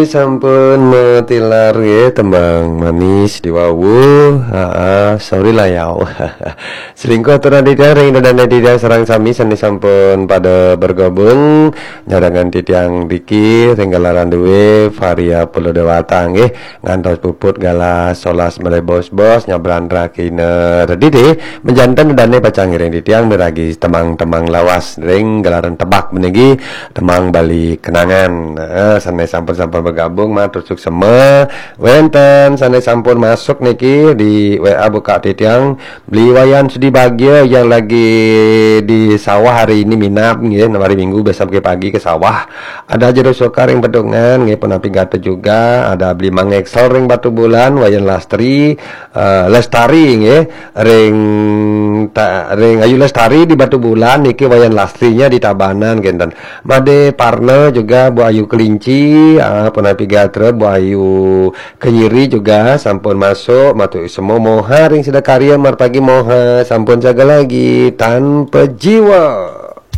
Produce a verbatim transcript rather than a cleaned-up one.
Sampun matilar nggih tembang manis diwawu. Haa, sorry lah ya. Selingkuh turun titiang ring dadané titiang sareng sami sané sampun pada bergabung. Nyarengan titiang Diki ring gelaran dué Varia Pulau Dewata nggih. Ngantos puput galah solas malih bos-bos nyabran rakina. Dadi dé, menjanten dadané pacang ngiring titiang miragi tembang-tembang lawas ring gelaran tebak meniki tembang Bali kenangan. Nah, sané sampun-sampun bergabung matur suksema. Wénten sané sampun masuk niki di W A buka titiang, Beli Wayan Sudi Bagia yang lagi di sawah hari ini minab nggih, hari Minggu biasa pagi-pagi ke sawah. Ada Jero Soka ring Bedungan nggih, punapi gatra juga. Ada Beli Mang Excel ring Batubulan, Wayan Lastri, eh, Lestari nggih, ring ta, ring Ayu Lestari di Batubulan, niki Wayan Lastrinya di Tabanan kinten. Made Parna juga Bu Ayu Kelinci, ah, punapi gatra Bu Ayu Kenyiri juga sampun masuk, matur suksema. Moha ring sida karya, marpagi Moha, sampun jaga lagi, tanpa jiwa.